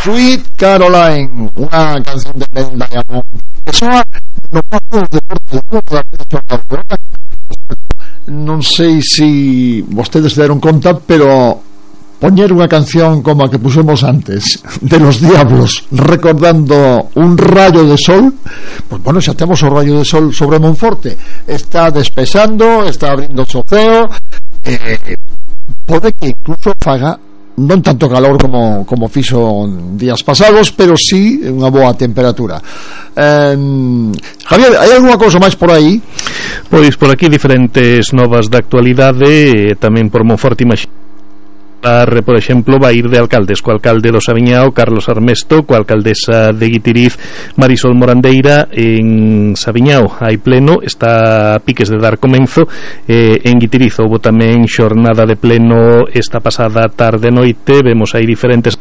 Sweet Caroline, unha canción de Neil Diamond que soa no paso de Porto. Non sei se vostedes se deron conta, pero poñer unha canción como a que pusemos antes de Los Diablos recordando un rayo de sol, pues bueno, xa temos o rayo de sol sobre Monforte, está despexando, está abrindo o ceo, pode que incluso faga non tanto calor como fixo días pasados, pero sí unha boa temperatura. Javier, hai algunha cousa máis por aí? Pois por aquí diferentes novas da actualidade, tamén por Monforte por exemplo, vai ir de alcaldes, co alcalde do Saviñao, Carlos Armesto, coa alcaldesa de Guitiriz, Marisol Morandeira. En Saviñao hai pleno, está a piques de dar comenzo. En Guitiriz houbo tamén xornada de pleno esta pasada tarde noite. Vemos aí diferentes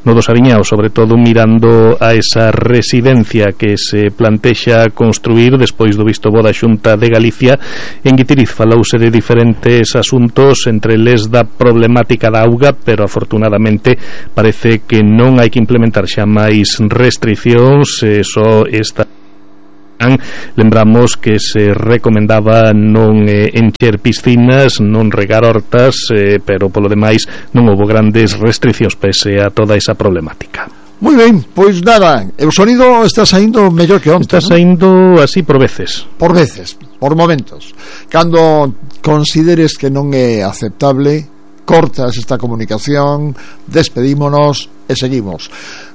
no do Saviñao, sobre todo mirando a esa residencia que se plantexa construir despois do visto bo da Xunta de Galicia. En Guitiriz falouse de diferentes asuntos, entre eles da problemática da auga, pero afortunadamente parece que non hai que implementar xa máis restriccións, só esta. Lembramos que se recomendaba non encher piscinas, non regar hortas, pero polo demais non houbo grandes restriccións pese a toda esa problemática. Moi ben, pois nada, o sonido está saindo mellor que onte. Está saindo así por veces. Por veces, por momentos. Cando consideres que non é aceptable, cortas esta comunicación, despedímonos e seguimos.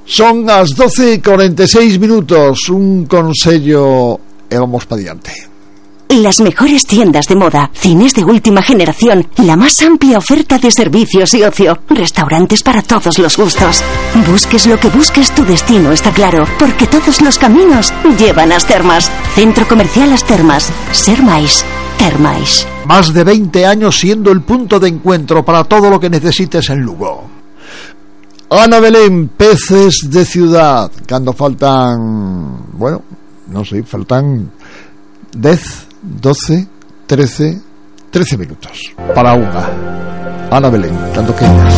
Son as 12:46 minutos. Un consello e vamos pa diante. Las mejores tiendas de moda, cines de última generación, la más amplia oferta de servicios y ocio, restaurantes para todos los gustos. Busques lo que busques, tu destino está claro, porque todos los caminos llevan a As Termas. Centro Comercial As Termas. Ser máis. Termais. Más de 20 años siendo el punto de encuentro para todo lo que necesites en Lugo. Ana Belén, peces de ciudad. Cando faltan, bueno, non sei, faltan 10, 12, 13 minutos para unha. Ana Belén, cando queiras.